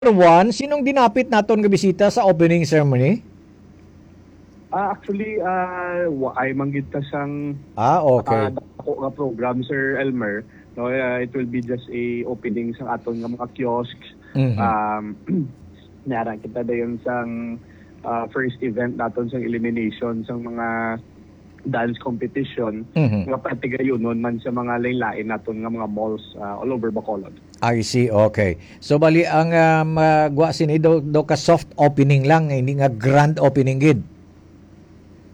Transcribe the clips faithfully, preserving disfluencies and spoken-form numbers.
One, sinong dinapit naton nga bisita sa opening ceremony? Ah, actually, ah, wa ay manggid ta sang, Ah, okay. ah, dako nga program, Sir Elmer. No, ah, it will be just a opening sang aton nga mga kiosks. Mhm. Um, nara kita dayon sang, ah, first event naton sang elimination sang mga dance competition Mhm. nga patigayunon man sa mga lain-lain naton nga mga malls, ah, all over Bacolod. I see, okay. So, bali, ang, ah, magwa sini do, do ka soft opening lang, hindi nga grand opening gid.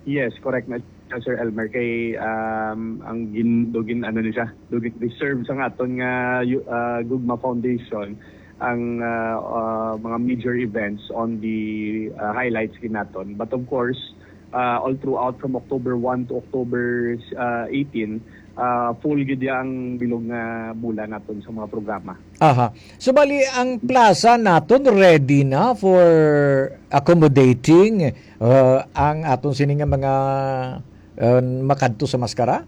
Yes, correct na siya, Sir Elmer. Kay, um, ang gin, do gin, ano ni siya, do gin reserve sa aton nga yu-, ah, Gugma Foundation ang, ah, ah, mga major events on the, ah, highlights gid naton. But of course, ah, all throughout from October one to October, ah, eighteen, ah, full gid ya ang bilog nga bulan naton sa mga programa. Aha. So, bali, ang plaza naton ready na for accommodating, uh, ang aton sini nga mga, uh, makadto sa maskara?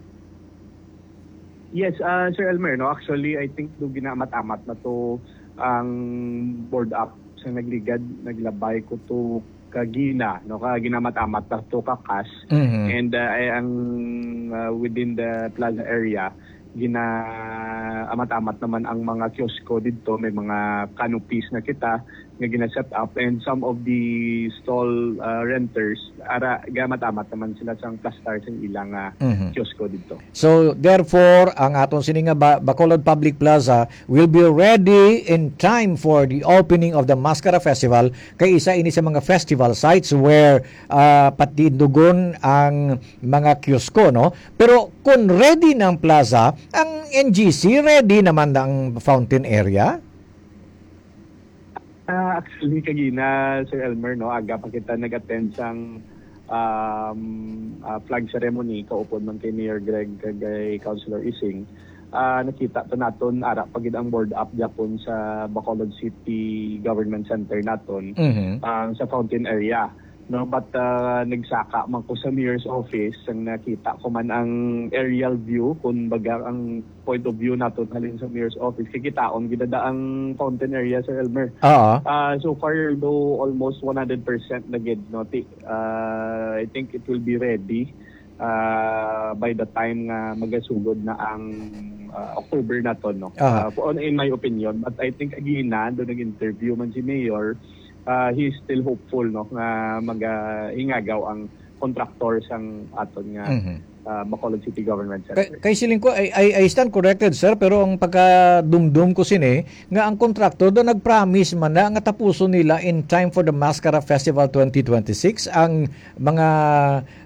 Yes, ah, Sir Elmer, no? Actually, I think do ginaamat-amat na to ang board up sa nagligad, naglabay ko to kagina, no? Ka ginamat-amat na to kakas. Mhm. And, ah, ay, ang, ah, within the plaza area, ginaamat-amat naman ang mga kiosko didto. May mga canopies na kita nga gina-set up, and some of the stall, ah, renters, ara, gamat-amat naman sila sang plastar sang ilang, ah, Mhm. kiosko didto. So, therefore, ang aton sini nga Ba-, Bacolod Public Plaza will be ready in time for the opening of the Mascara Festival, kay isa ini sa mga festival sites where, ah, patindugon ang mga kiosko, no? Pero kung ready na ang plaza, ang N G C, ready naman na ang fountain area? Ah, actually, kagina, Sir Elmer, no, aga pa kita nag-attend sang, um, ah, flag ceremony, kaupod man kay Mayor Greg kag kay Councilor Ising. Ah, nakita to naton, ara pa gid ang board up gyapon sa Bacolod City Government Center naton, Mhm. ah, sa fountain area. No, but, ah, nagsaka man ko sa mayor's office, ang nakita ko man ang aerial view, kun baga ang point of view nato halin sa mayor's office, kikitaon gid ada ang fountain area, Sir Elmer. Oo. Ah, so far, though, almost one hundred percent na gid, no? Ti-, ah, I think it will be ready, ah, by the time nga magasugod na ang, ah, October na to, no? Aha. Ah, for, on, in my opinion, but I think, again, na, doon nag-interview man si Mayor, ah, he is still hopeful, no, nga magahingagaw ang kontraktor sang aton nga, Mhm. ah, Bacolod City Government Kay, Center. Kay siling ko, I, I, I stand corrected, sir, pero ang pagkadumdum ko sini, nga ang kontraktor do nag-promise man na nga tapuson nila in time for the Mascara Festival twenty twenty-six ang mga,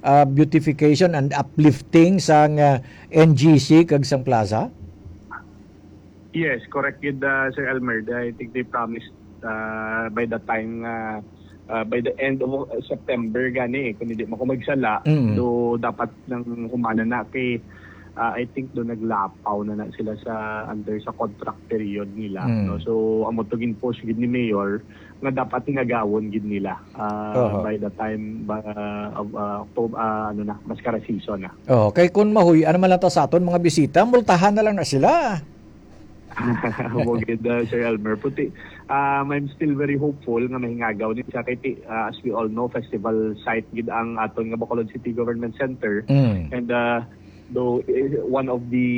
ah, beautification and uplifting sang, ah, N G C kag sang plaza? Yes, correct gid, ah, Sir Elmer. I think they promised, ah, by the time nga, ah, by the end of September gani, eh, kung hindi man ko magsala, Mm. do dapat nang humana na kay, ah, I think do naglapaw na na sila sa under sa contract period nila, Mm. no? So, amo to gin-push gid ni Mayor nga dapat hingagawon gid nila, ah, Oho. by the time ba, of, ah, October, ah, ano na, Mascara season na. Oh, kay kun mahuy-an naman lang ta sa aton mga bisita, multahan na lang na sila. Mo gid, uh, Sir Elmer. Puti, um, I'm still very hopeful nga mahingagaw ni siya kay ti-, uh, as we all know, festival site gid ang aton nga Bacolod City Government Center. Mm. And, uh, though, eh, one of the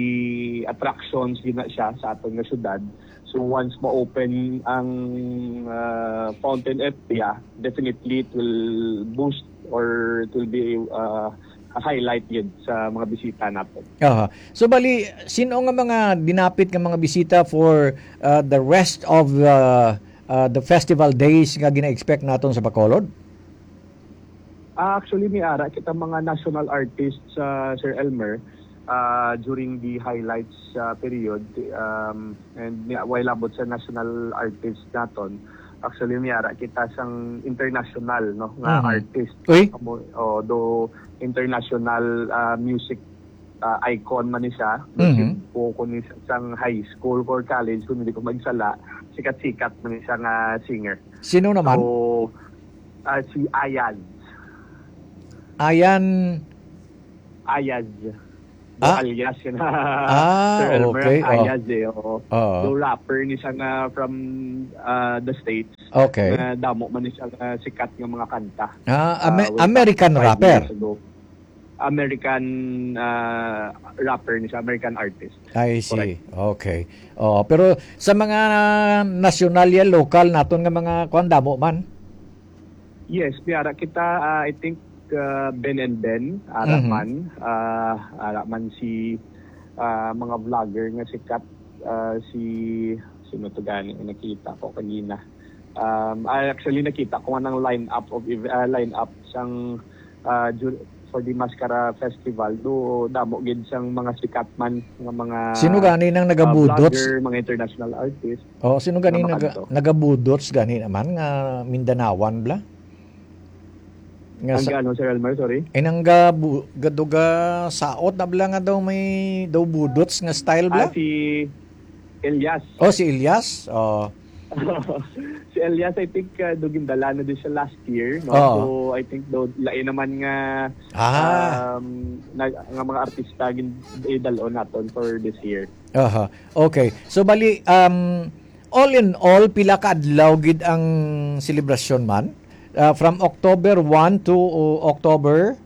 attractions gid na siya sa aton nga syudad. So once ma-open ang, uh, fountain area, definitely it will boost or it will be, uh, a highlight gid sa mga bisita natin. Aha. So, bali, sino nga mga dinapit nga mga bisita for, uh, the rest of, uh, uh, the festival days nga gina-expect naton sa Bacolod? Ah, actually, may ara kita mga national artists, uh, Sir Elmer, uh, during the highlights, uh, period, um, and ni-, while abot sa national artist naton, actually, may ara kita sang international, no, nga Mhm. artist. Uy. Amo, oh, do international, ah, music, ah, icon man ni siya. Mhm. Music po ko ni sa-, sang high school or college, kung hindi ko magsala, sikat-sikat man ni siya nga singer. Sino naman? So, ah, si Ayaz. Ayan. Ayaz. Ah. Alias yun. Ah, Sir Elmer, okay. Ang alias eh. Oo. Oo. So, rapper ni siya nga from uh, the States. Okay. Na damo man ni siya nga sikat nga mga kanta. Ah, Ame- Uh, way back American five rapper. years ago. American uh, rapper ni siya, American artist. I see. Okay. Oh, pero sa mga nasyonal ya, lokal naton nga mga kuan, damo man. Yes, may ara kita, ah, I think, ah, Ben and Ben, ara Mhm. man, ah, ara man si ah, mga vlogger nga sikat, ah, si, sino to gani, nakita ko kanina. Um, I actually nakita ko nga ng lineup of ev- ah, lineup sang ah, ju- for the Mascara Festival, do damo gid sang mga sikat man nga mga Sino gani nang ah, nagabudots? Vlogger, mga international artist. Oh, sino gani Nga naga, makanto. Nagabudots gani naman nga Mindanaoan bla? Nga Ang sa, ano, Sir Elmer, sorry? Ay nang gabu, gaduga saot na bla nga daw may daw budots nga style bla? Ah, si Elias. Oh, si Elias. Oh. Si Elias, I think, uh, do gindala na din siya last year, no? Oo. So, I think do lain naman nga Ah. um, na, nga mga artista gin idalon naton for this year. Aha. Okay. So bali um all in all, pila ka adlaw gid ang selebrasyon man? Ah, from October one to uh, October?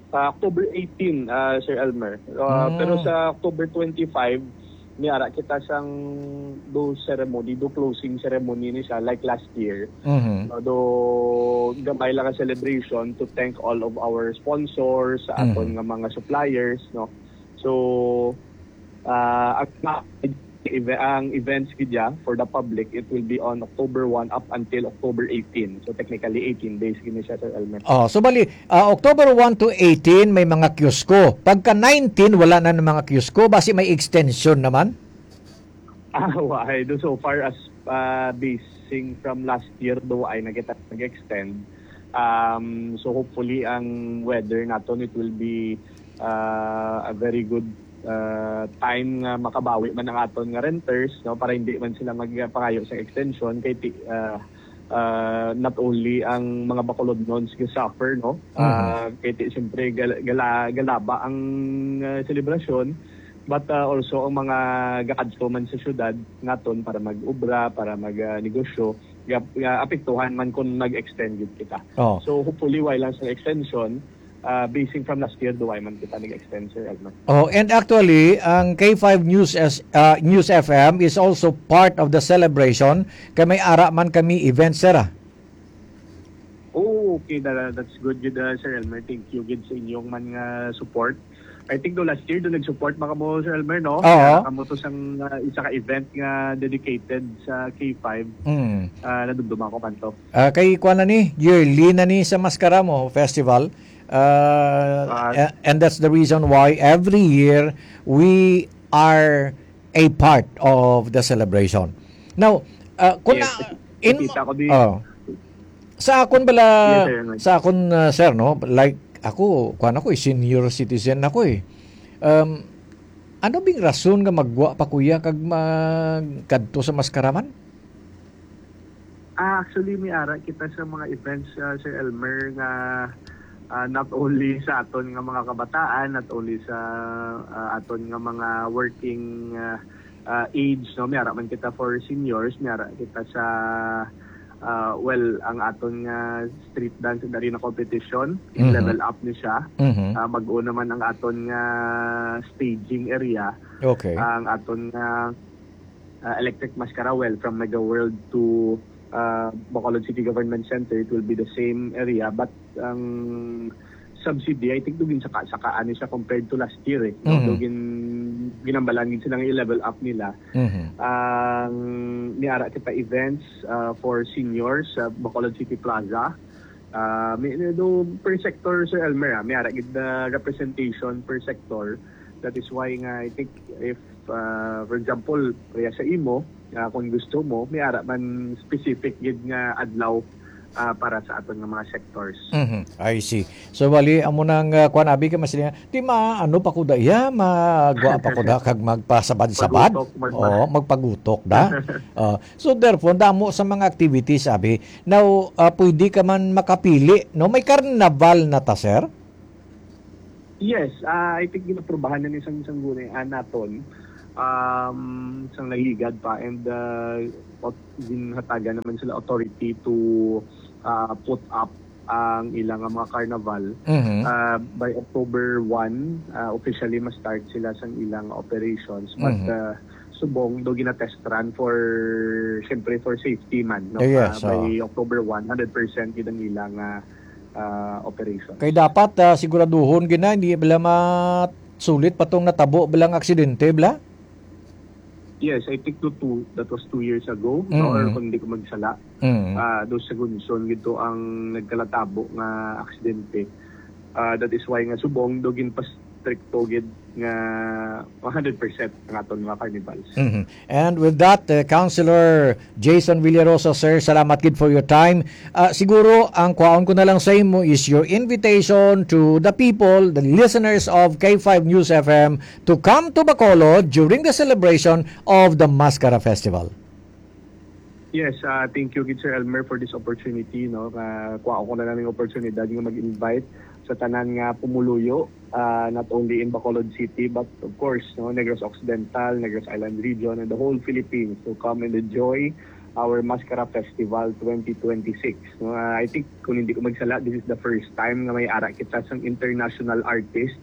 Sa October eighteen, uh, Sir Elmer. Uh, Mm. Pero sa October twenty-five, niara kita sang do ceremony, do closing ceremony ni siya like last year. Mhm. No, do gamay lang nga celebration to thank all of our sponsors, sa aton Mhm. nga mga suppliers, no. So uh, ang, eve- ang events gid ya for the public, it will be on October one up until October eighteen. So technically eighteen days gid ni siya, Sir Elmer. Oh, so bali, ah, October one to eighteen may mga kiosko. Pagka nineteen wala na ng mga kiosko, basi may extension naman. Ah, why? Do so far as uh, basing from last year, do ay na kita nag-extend. Um, so hopefully ang weather naton, it will be uh, a very good uh, time nga makabawi man ang aton nga renters, no, para hindi man sila magpangayo sa extension kay ti, uh, uh, not only ang mga Bacolodnons ga-suffer, no, uh, kay ti, siyempre gal, gala, galaba ang uh, selebrasyon, but uh, also ang mga gakadto man sa syudad naton para mag-obra, para mag uh, negosyo, ga, ga, apektuhan man kung nag-extend gid kita. Oh. So hopefully, while lang sa extension, uh, basing from last year, duway man kita nag-extend, Sir Edmund. Oh, and actually, ang K five News S, ah, News F M is also part of the celebration. Kay may ara man kami event, sir, ah. Oh, okay. That, that's good, good, uh, Sir Elmer. Thank you, good sa inyong man nga support. I think do last year do nag-support maka mo, Sir Elmer, no? Oo. Kaya kamo to sang uh, isa ka event nga dedicated sa K five. Mm. Uh, nadumduma ko kanto. Ah, kay kuan na ni, yearly na ni sa Mascara mo Festival. Ah, Ah. a- and that's the reason why every year we are a part of the celebration. Now, ah, kung Yes, na, nakikita ko di- oh, sa akon bala, Yes, sir. Sa akon, ah, sir, no, like, ako, kuan ako, eh, senior citizen ako, eh. Um, ano bing rason nga magwa pa kuya kag magkadto sa Mascara man? Ah, actually, may ara kita sa mga events, uh, Sir Elmer, nga uh, not only sa aton nga mga kabataan, not only sa uh, aton nga mga working uh, uh, age, no, may ara man kita for seniors, may ara kita sa uh, well, ang aton nga street dance and arena competition, Mhm. Level Up ni siya. Mhm. Uh, mag-o naman ang aton nga staging area, Okay. ang aton nga uh, Electric Mascara, well, from Mega World to uh, Bacolod City Government Center, it will be the same area, but ang subsidy, I think, dugin saka saka ano siya compared to last year, eh. No? Mhm. Dugin ginambalan gid sila nga i-level up nila. Mhm. Ang niara kita events uh, for seniors sa Bacolod City Plaza. Uh, may, may do per sector, Sir Elmer, ah. May ara gid na representation per sector. That is why nga, I think, if, uh, for example, kaya sa imo, uh, kung gusto mo, may ara man specific gid nga adlaw uh, para sa aton nga mga sectors. Mhm. I see. So, bali, amo nang uh, kuan abi ka mas di ma ano pa ko da iya, magwa pa ko da kag magpasabad-sabad. Pagutok, magpa- Oo, magpagutok da. Uh, so, therefore, damo sa mga activities abi. Now, uh, pwede ka man makapili, no? May carnival na ta, sir? Yes, ah, I think ginaprubahan na ni sang sanggunian naton, um, sang nagligad pa, and, ah, ot-, ginhatagan naman sila authority to, ah, put up ang ilang mga carnival. Mhm. Ah, by October one, ah, officially ma-start sila sang ilang operations. But, Mhm. ah, subong do gina-test run for, syempre, for safety man, no? Yes, Ah, by oo. October one, hundred percent gid ang ilang, ah, ah, operation. Kay dapat, ah, siguraduhon gid na, hindi bala masulit pa tong natabo bala nga aksidente, bala? Yes, I think to two, that was two years ago, no? Or Mm. kung hindi ko magsala, Mm. ah, do sa Gunson gid to ang nagkalatabo nga aksidente. Ah, that is why nga subong do ginpastrikto gid nga one hundred percent ang aton mga carnivals. Mhm. And with that, uh, Councilor Jason Villarosa, sir, salamat gid for your time. Ah, siguro, ang kwaon ko na lang sa imo is your invitation to the people, the listeners of K five News F M, to come to Bacolod during the celebration of the Mascara Festival. Yes, ah, thank you gid, Sir Elmer, for this opportunity, no? Nga kuha ko na lang ng oportunidad nga mag-invite sa tanan nga pumuluyo, ah, not only in Bacolod City, but of course, no, Negros Occidental, Negros Island Region, and the whole Philippines to come and enjoy our Mascara Festival twenty twenty-six. No, ah, I think, kung hindi ko magsala, this is the first time nga may ara kita sang international artist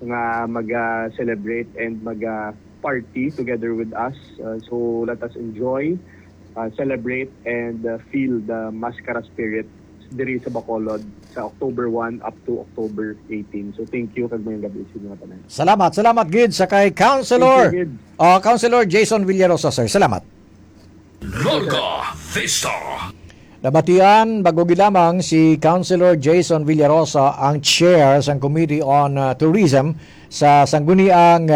nga mag-celebrate and mag-party together with us. Uh, so let us enjoy, uh, celebrate, and, uh, feel the Mascara spirit diri sa Bacolod sa October one up to October eighteen. So thank you, kag mayong gabi sa inyo tanan. Salamat, salamat gid sa kay Councilor, Thank you, gid. uh, Councilor Jason Villarosa, sir. Salamat. Larga Vista. Nabatian bago gid lamang si Councilor Jason Villarosa, ang chair sang Committee on, uh, Tourism sa Sangguniang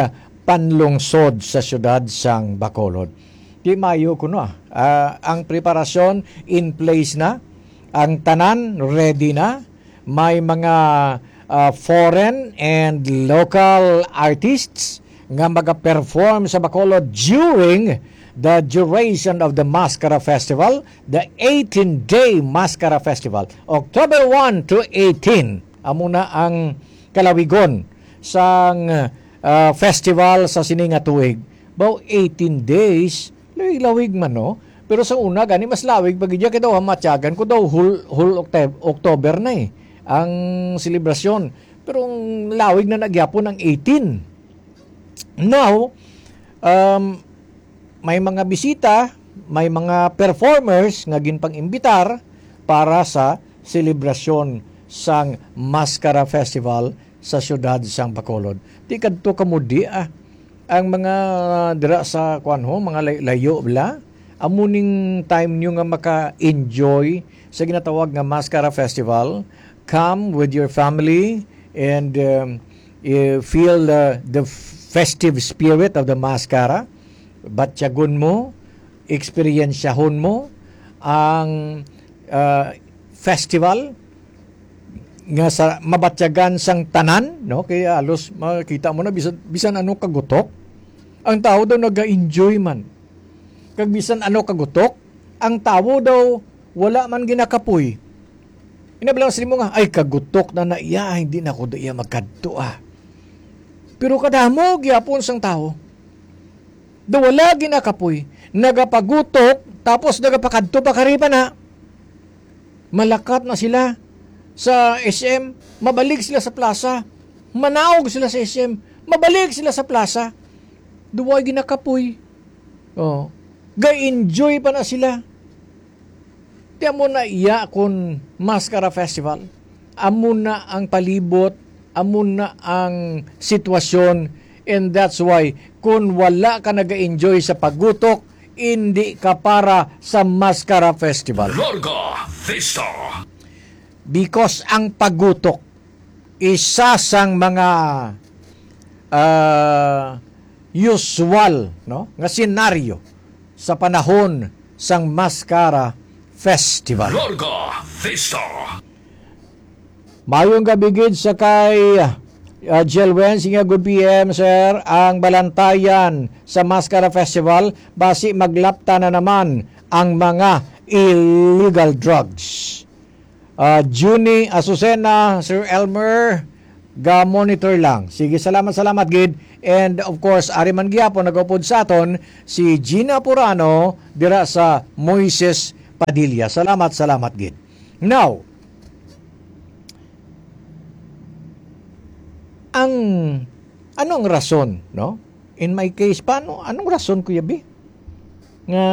Panlungsod sa siyudad sang Bacolod. Di mayo kuno, ah. Ah, ang preparasyon in place na, ang tanan ready na, may mga, ah, foreign and local artists nga magaperform sa Bacolod during the duration of the Mascara Festival, the eighteen-day Mascara Festival, October one to eighteen. Amo na ang kalawigon sang, ah, festival sa sini nga tuig. Baw eighteen days, lawig-lawig man, no? Pero sa una, gani mas lawig pa gid, kay daw hamatyagan ko daw whole, whole Octob-, October na, eh, ang selebrasyon. Pero ang lawig na nagyapon ang eighteen. Now, um, may mga bisita, may mga performers nga ginpang-imbitar para sa selebrasyon sang Mascara Festival sa siyudad sang Bacolod. Di kadto kamo di, ah. Ang mga dira sa, kuwan ho, mga lay-, layo bala, amo ning time nyo nga maka-enjoy sa ginatawag nga Mascara Festival. Come with your family and, um, eh, feel the, the festive spirit of the Mascara. Batyagon mo, eksperyensyahon mo ang, ah, festival nga sa mabatyagan sang tanan, no? Kaya halos makita mo na bisan, bisan ano kagutok, ang tao daw naga-enjoy man. Kag bisan ano kagutok, ang tawo daw wala man ginakapoy. Inablang sa nimo nga, "Ay, kagutok na na iya, hindi na ko da iya magkadto, ah." Pero kadamo gyapon sang tawo. Daw wala ginakapoy, nagapagutok, tapos nagapakadto pa kariba na. Malakat na sila sa S M, mabalik sila sa plaza. Manaog sila sa S M, mabalik sila sa plaza. Daw wala ginakapoy. Oh. Ga-enjoy pa na sila. Ti amo na iya kun Mascara Festival. Amo na ang palibot, amo na ang sitwasyon, and that's why kun wala ka naga-enjoy sa pagutok, hindi ka para sa Mascara Festival. Larga Vista. Because ang pagutok isa sang mga, ah, usual, no, nga senaryo sa panahon sang Mascara Festival. Larga Vista. Mayong gabi gid sa kay, ah, Jelwen, sige, good P M, sir. Ang balantayan sa Mascara Festival, basi maglapta na naman ang mga illegal drugs. Ah, Junie Azucena, Sir Elmer, ga-monitor lang. Sige, salamat, salamat gid. And of course, ari man gyapon nagaupod sa aton si Gina Purano dira sa Moises Padilla. Salamat, salamat gid. Now, ang, ano ang rason, no? In my case, paano, anong rason, Kuya B? Nga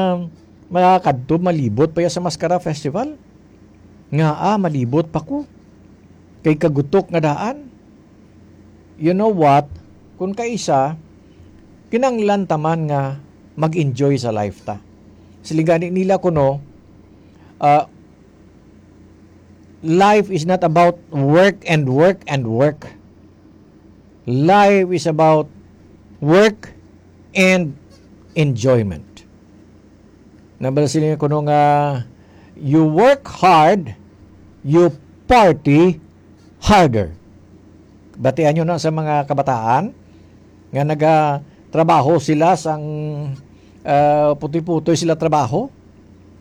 makakadto, malibot pa ya sa Mascara Festival? Nga, ah, malibot pa ko. Kay kagutok nga daan. You know what? Kung kaisa, kinanglan ta man nga mag-enjoy sa life ta. Siling gani nila kuno, ah, life is not about work and work and work. Life is about work and enjoyment. Nabal sila kuno nga, "You work hard, you party harder." Batian nyo na sa mga kabataan nga nagatrabaho sila sang, ah, putoy-putoy sila trabaho.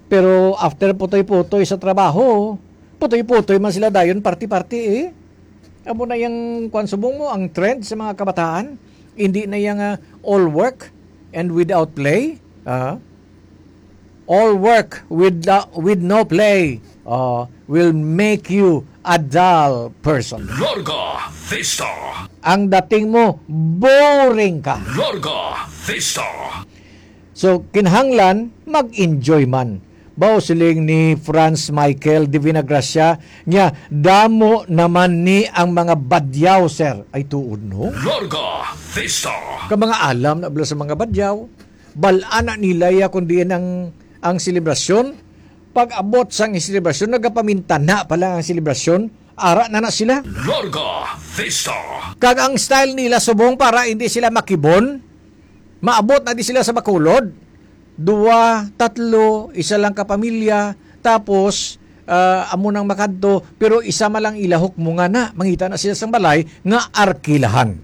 Pero after putoy-putoy sa trabaho, putoy-putoy man sila dayon, party-party eh. Amo na yang, kwan, subong mo, ang trend sa mga kabataan. Hindi na yang, ah, all work and without play. Ah. All work with, uh, with no play, uh, will make you a dull person. Larga Vista. Ang dating mo, boring ka. Larga Vista. So, kinahanglan, mag-enjoy man. Bao siling ni Franz Michael de Vinagracia, niya, "Damo naman ni ang mga badyaw, sir." Ay, tuod, no? Larga Vista. Ka mga alam na bala sa mga badyaw, bal-an na nila ya kung diin ang, ang selebrasyon. Pag-abot sang selebrasyon, nagapamintana pa lang ang selebrasyon, ara na na sila. Larga Vista. Kag ang style nila subong para hindi sila makibon, maabot na di sila sa Bacolod. Dua, tatlo, isa lang ka pamilya, tapos, ah, amo nang makadto, pero isa man lang ilahok mo nga na, mangita na sila sang balay nga arkilahan.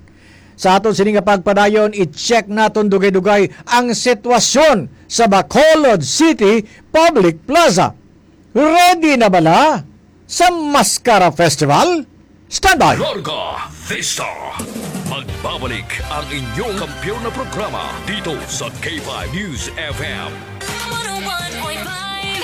Sa aton sini nga pagpadayon, i-check naton dugay-dugay ang sitwasyon sa Bacolod City Public Plaza. Ready na bala sa Mascara Festival? Standby! Larga Vista. Magbabalik ang inyong kampiyon na programa dito sa K five News F M. One oh one point five.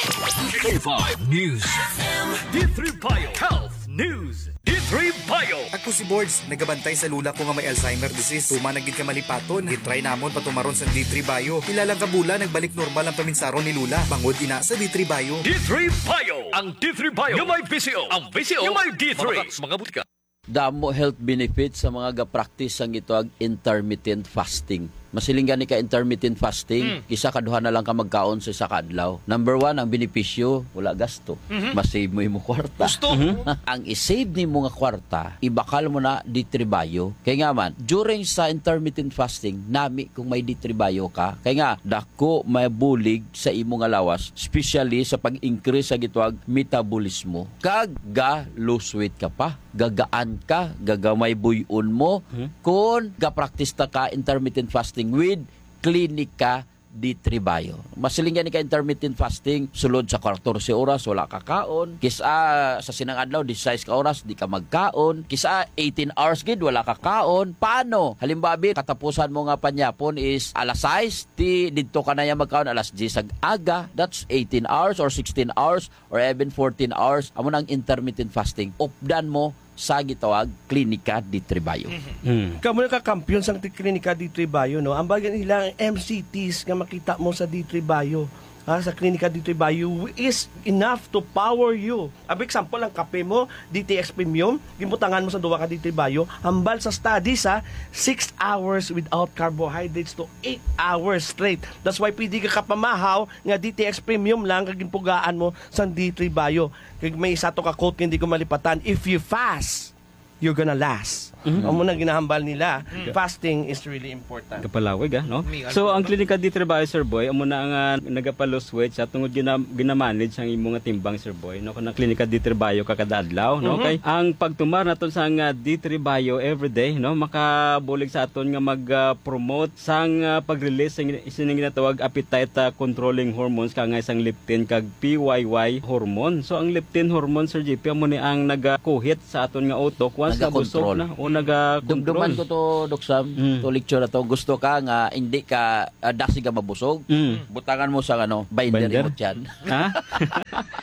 K five News F M. D three Bio Health News. D three Bio. Ako si Bords, nagabantay sa lula ko nga may Alzheimer disease. Tuman na gid ka malipaton. Gitry namon patumaron sa D three Bio. Pila lang ka bulan, nagbalik normal ang paminsaron ni lula. Bangod ina sa D three Bio. D three Bio. Ang D three Bio nga may V C O. Ang V C O nga may D three. Mabakak sa mga butika. Damo health benefits sa mga ga-practice sang gitawag intermittent fasting. Masiling gani ka intermittent fasting, Mm. isa ka duha na lang ka magkaon sa isa ka adlaw. Number one, ang benepisyo, wala gasto. Mhm. Ma-save mo imo kwarta. Gusto. Mhm. Ang i-save nimo nga kwarta, ibakal mo na D three Bio. Kay nga man, during sa intermittent fasting, nami kung may D three Bio ka. Kay nga, dako may bulig sa imo nga lawas, especially sa pag-increase sa gitawag metabolismo. Kag ga-lose weight ka pa, gagaan ka, gagamay buy-on mo, Hmm? kung ga-practice ta ka intermittent fasting with Klinika D three Bio. Masiling gani ka intermittent fasting, sulod sa katorse oras, wala ka kaon. Kisa sa sinang adlaw, disisais ka oras, di ka magkaon. Kisa eighteen hours gid, wala ka kaon. Paano? Halimbawa, bi, katapusan mo nga panyapon is alas sais, ti didto ka na ya magkaon alas diyes ag aga. That's eighteen hours or sixteen hours or even fourteen hours. Amo na ang intermittent fasting. Updan mo sa gitawag Klinika D three Bio. Mhm. Mm. Kamo na kakampiyon sang ti-, Klinika D three Bio, no? Ang bagay nila, ang M C Ts nga makita mo sa D three Bio, ha, sa Klinika D three Bio is enough to power you. Ang example, ang kape mo, D T X Premium, ginbutangan mo sa duwa ka D three Bio, hambal sa study sa six hours without carbohydrates to eight hours straight. That's why pwede ka kapamahaw nga D T X Premium lang kag ginpugaan mo sa D three Bio. Kag may isa to ka quote nga hindi ko malipatan, "If you fast, you're gonna last." Mhm. Amo na ginahambal nila. Mm. Fasting is really important. Kapalawig, ah, no? May So, ano ang to? Klinika D three Bio, Sir Boy, amo na ang, ah, nagapa-lose weight sa tungod gina-, ginamanage ang imo nga timbang, Sir Boy, no? Kung ang Klinika D three Bio ka kada adlaw, no? Mhm. Okay? Ang pagtumar naton sa nga D three Bio everyday, no? Makabulig sa aton nga mag, ah, promote sang, ah, pag-release sang sining ginatawag appetite, ah, controlling hormones, kangay sang leptin kag P Y Y hormone. So, ang leptin hormone, Sir J P, amo ni ang nagakuhit sa aton nga utok once Nagakontrol. Nabusog na o naga-control. Dumduman ko to, Doc Sam, Mm. to lecture na to. Gusto ka nga hindi ka, ah, dasig ka mabusog? Mm. Butangan mo sa, ano, binder Binder? imo tiyan. Ha?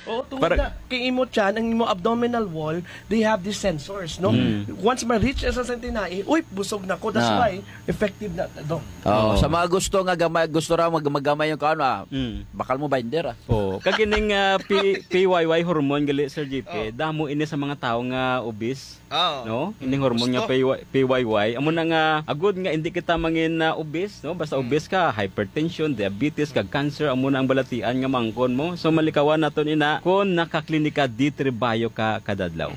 Oo, tungod Para na kay imo tiyan, ang imo abdominal wall, they have these sensors, no? Mm. Once ma-reach sa sentinai, uy, busog na ko. That's Ah. why effective na, Doc. Oh, Oo. sa mga gusto nga gamay, gusto ra mag-, magamay yung kaon, ah, Mm. bakal mo binder, ah. Oo. Kag ining, ah, P-, P Y Y hormone gali, Sir J P, Oh. damo ini sa mga tawo nga obese, Oo. no? Ining hormone nga Gusto. P Y, P Y Y. Amo na nga, agud nga hindi kita mangin, ah, obese, no? Basta Mm. obese ka, hypertension, diabetes, kag cancer, amo na ang balatian nga mangkon mo. So, malikawan naton ina kung nakaklinika D three Bio ka kada adlaw.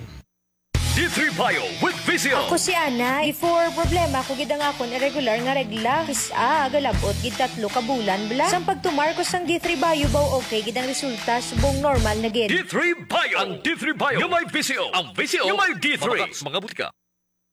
D three Bio with Visio. Ako si Ana. Before, problema ko gid ang akon irregular nga regla. Kis-a, galabot gid tatlo ka bulan bala. Sang pagtumar ko sang D three Bio, baw okay gid ang resulta, subong normal na gid. D three Bio. Ang D three Bio nga may Visio. Ang Visio nga may D three. Mabakal sa mga butika.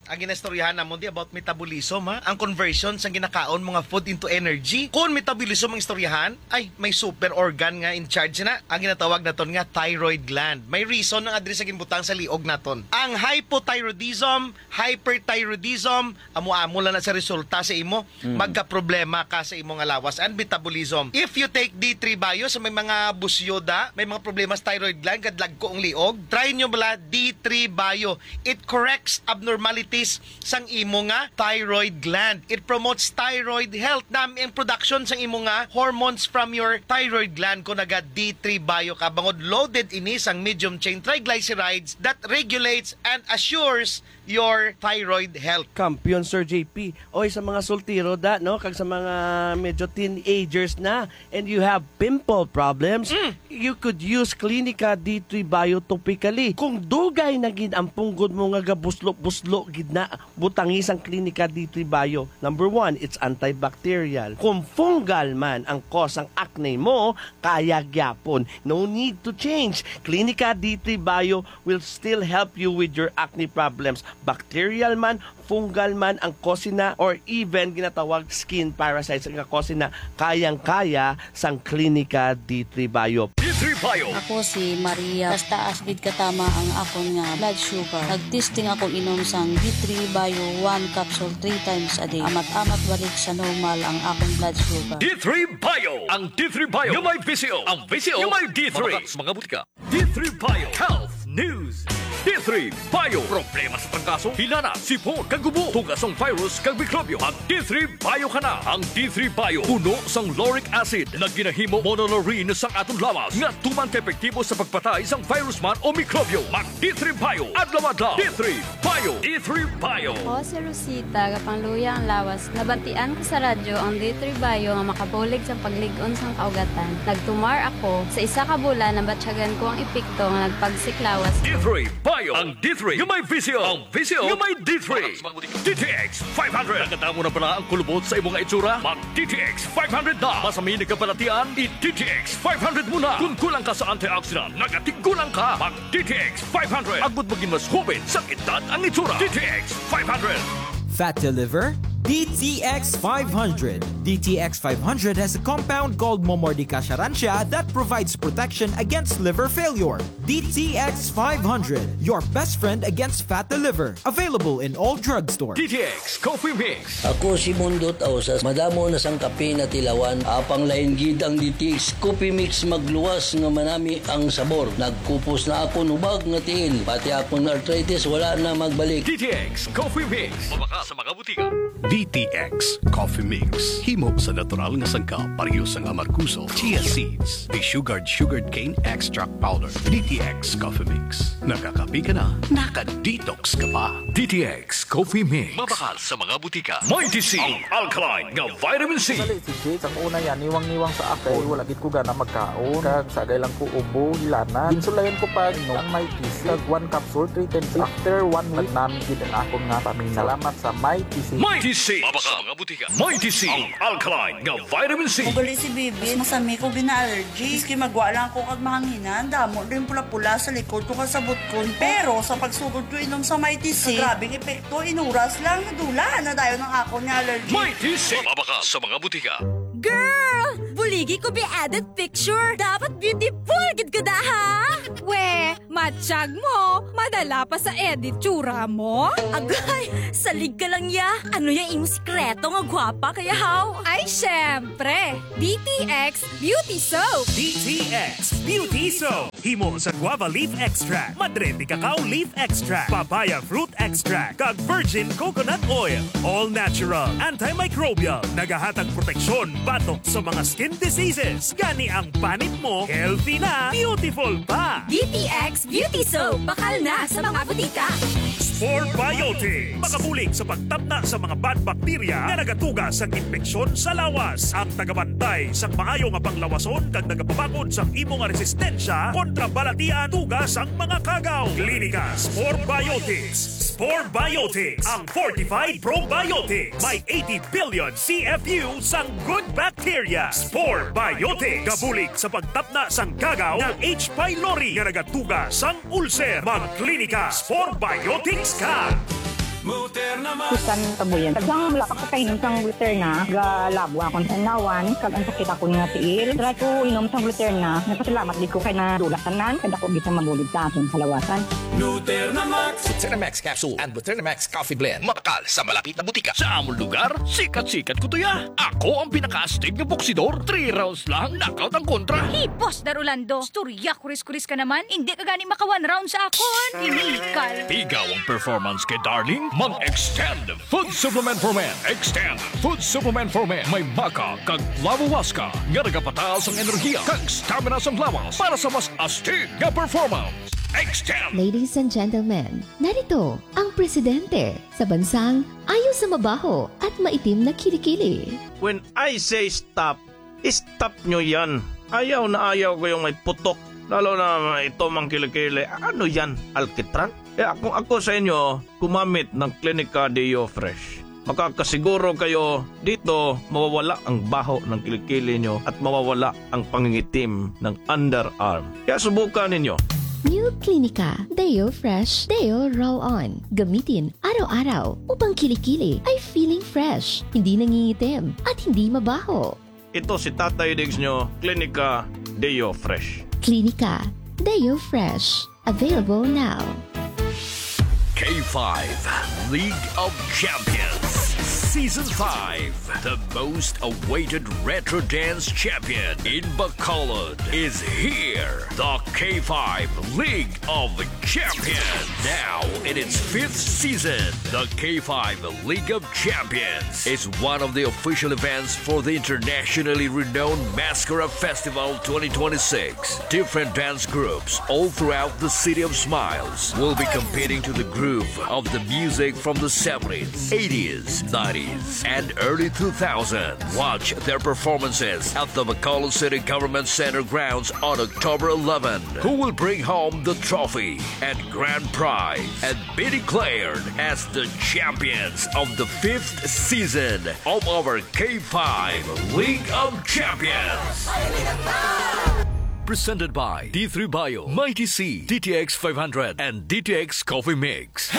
Ang ginaistoryahan namon di about metabolism, ha? Ang conversion sang ginakaon mo nga food into energy. Kung metabolism ang istoryahan, ay, may super organ nga in charge na. Ang ginatawag naton nga thyroid gland. May reason ang address sa ginbutang sa liog naton. Ang hypothyroidism, hyperthyroidism, amo-amo lang na sa resulta sa imo, Mm. magkaproblema ka sa imo nga lawas and metabolism. If you take D three Bio, sa may mga busyoda, may mga problema sa thyroid gland, kadlagko ang liog, try nyo bala D three Bio. It corrects abnormalities sang imo nga thyroid gland. It promotes thyroid health. Nami ang production sang imo nga hormones from your thyroid gland kung naga D three Bio ka. Bangod loaded ini sang medium chain triglycerides that regulates and assures your thyroid health. Kampiyon, Sir J P. Oy, sa mga soltero da, no? Kag sa mga medyo teenagers na, and you have pimple problems, Mm. you could use Clinica D three Bio topically. Kung dugay na gid ang punggod mo nga gabuslo-buslo gid na, butangi sang Clinica D three Bio. Number one, it's antibacterial. Kung fungal man ang cause ang acne mo, kaya gyapon. No need to change. Clinica D three Bio will still help you with your acne problems. Bacterial man, fungal man ang cause na, or even ginatawag skin parasites ang cause na, kayang-kaya sang Clinica D three Bio. D three Bio. Ako si Maria. Taas-taas gid katama ang akon nga blood sugar. Nag-testing ako inom sang D three Bio one capsule three times a day. Amat-amat balik sa normal ang akon blood sugar. D three Bio. Ang D three Bio nga may Visio. Ang Visio nga may D three. Mabakal sa mga butika. D three Bio Health News. D three Bio. Problema sa trangkaso, hilanat, sipon, kag ubo, tugas sang virus kag mikrobyo. Mag D three Bio ka na. Ang D three Bio puno sang lauric acid nga ginahimo monolaurin sang aton lawas nga tuman ka epektibo sa pagpatay sang virus man o mikrobyo. Mag D three Bio adlaw-adlaw. D three Bio. D three Bio. Ako si Rosita, gapangluya ang lawas. Nabatian ko sa radyo ang D three Bio nga makabulig sa paglig-on sang kaugatan. Nagtumar ako. Sa isa ka bulan, nabatyagan ko ang epekto nga nagpagsik lawas ko. D three Bio. Ang D three nga may Visio. Ang Visio nga may D three. D T X five hundred. Nakadamo na bala ang kulubot sa imo nga itsura? Mag D T X five hundred na. Masami nagkabalatian, i D T X five hundred mo na. Kung kulang ka sa antioxidant, nagatigulang ka. Mag D T X five hundred. Agud magin mas hoben sang edad ang itsura. D T X five hundred. Fat to liver? D T X five hundred. D T X five hundred has a compound called Momordica charantia that provides protection against liver failure. D T X five hundred, your best friend against fat to liver. Available in all drugstores. D T X Coffee Mix. Ako si Mundot Ausas. Madamo na sang kape natilawan. Apang lain gid ang D T X Coffee Mix, magluwas nga manami ang sabor. Nagkupos na akon hubag nga tiil. Pati akon arthritis wala na magbalik. D T X Coffee Mix. Mabakal sa mga butika. D T X Coffee Mix. Himo sa natural nga sangkap, pareho sang amargoso, chia seeds, desugared sugarcane cane extract powder. D T X Coffee Mix. Nakakape ka na, naka-detox ka pa. D T X Coffee Mix. Mabakal sa mga butika. Mighty C, ang alkaline nga vitamin C. Sali si Jade, sang una yan, niwang-niwang sa ako. Wala gid ko gana magkaon. Kag sagay lang ko ubo, hilanat. Ginsulayan ko pa inom ang Mighty C. Kag one capsule, three times after one week. Nagnami gid ang akon nga pamina. Salamat sa Mighty C. Mighty C. Mabakal sa mga butika. Mighty C, ang alkaline nga vitamin C. Ugali si Bibi, masami ko gina-allergy. Maski magwa lang ako kag mahanginan, damo din pula-pula sa likod ko kag sa butkon. Pero sa pagsugod ko inom sa Mighty C, grabing epekto, inuras lang, nadula na dayon ang akon nga allergy. Mighty C. Mabakal sa mga butika. Girl! Buligi ko bi edit picture. Dapat beautiful gid ka da, ha? We, Tiyag mo, madala pa sa edit tsura mo? Agay, salig ka lang ya. Ano ya imo sikreto nga gwapa kaya haw? Ay, syempre! D T X Beauty Soap! D T X Beauty Soap. Himo sa guava leaf extract, madre de cacao leaf extract, papaya fruit extract, kag virgin coconut oil. All natural, antimicrobial, nagahatag proteksyon batok sa mga skin diseases. Gani ang panit mo, healthy na, beautiful pa. D T X Beauty Soap, bakal na sa mga butika. Spore Biotics, makabulig sa pagtapna sa mga bad bacteria nga nagatuga sa impeksyon sa lawas. Ang tagabantay sang maayo nga panglawason kag nagapabakod sang imo nga resistensya kontra balatian tuga sang mga kagaw. Klinika Spore Biotics. Spore Biotics, ang fortified probiotics. May eighty billion C F U sang good bacteria. Spore Biotics. Gabulig sa pagtapna sang kagaw nga H. pylori nga nagatuga sang ulcer. Magklinika Spore Biotics ka. Bisan kabuyan. Daghang wala pa ko kainom sang Luterna, galabo akong tanlawan, kag ang sakit akon nga tiil. Try ko inom sang Luterna. Nagpasalamat gid ko kay nadula tanan, kay dako gid sang mabulig sa akon kalawasan. Luterna Max. Luterna Max Capsule and Luterna Max Coffee Blend. Mabakal sa malapit na butika. Sa amon lugar, sikat-sikat ko to ya. Ako ang pinakaastig nga boksidor. Three rounds lang, knockout ang kontra. Hey, Boss Dar Orlando, istorya kuris-kuris ka naman. Hindi ka gani maka one round sa akon. Inikal. Ikaw ang performance kay Darling? Mag-Extend Food Supplement for Men. Extend Food Supplement for Men. May maca kag lawawaska nga nagapataas ang enerhiya kag stamina sang lawas para sa mas astig nga performance. Extend! Ladies and gentlemen, narito ang presidente sa bansang ayaw sa mabaho at maitim na kilikili. When I say stop, stop nyo yan. Ayaw na ayaw ko yung may putok. Lalo na ito mang kilikili. Ano yan? Alkitran? Kaya kung ako sa inyo, gumamit ng Clinica Deo Fresh. Makakasiguro kayo dito mawawala ang baho ng kilikili nyo at mawawala ang pangingitim ng underarm. Kaya subukan ninyo. New Clinica Deo Fresh Deo Roll On. Gamitin araw-araw upang kilikili ay feeling fresh, hindi nangingitim, at hindi mabaho. Ito si Tatay Diggs nyo, Clinica Deo Fresh. Clinica Deo Fresh. Available now. K five League of Champions Season five. The most awaited retro dance champion in Bacolod is here. The K five League of Champions. Now in its fifth season, the K five League of Champions is one of the official events for the internationally renowned Mascara Festival twenty twenty-six. Different dance groups all throughout the City of Smiles will be competing to the groove of the music from the seventies, eighties, nineties, and early two thousands. Watch their performances at the Bacolod City Government Center grounds on October eleven. Who will bring home the trophy and grand prize and be declared as the champions of the fifth season of our K five League of Champions. Presented by D three Bio, Mighty C, D T X five hundred, and D T X Coffee Mix.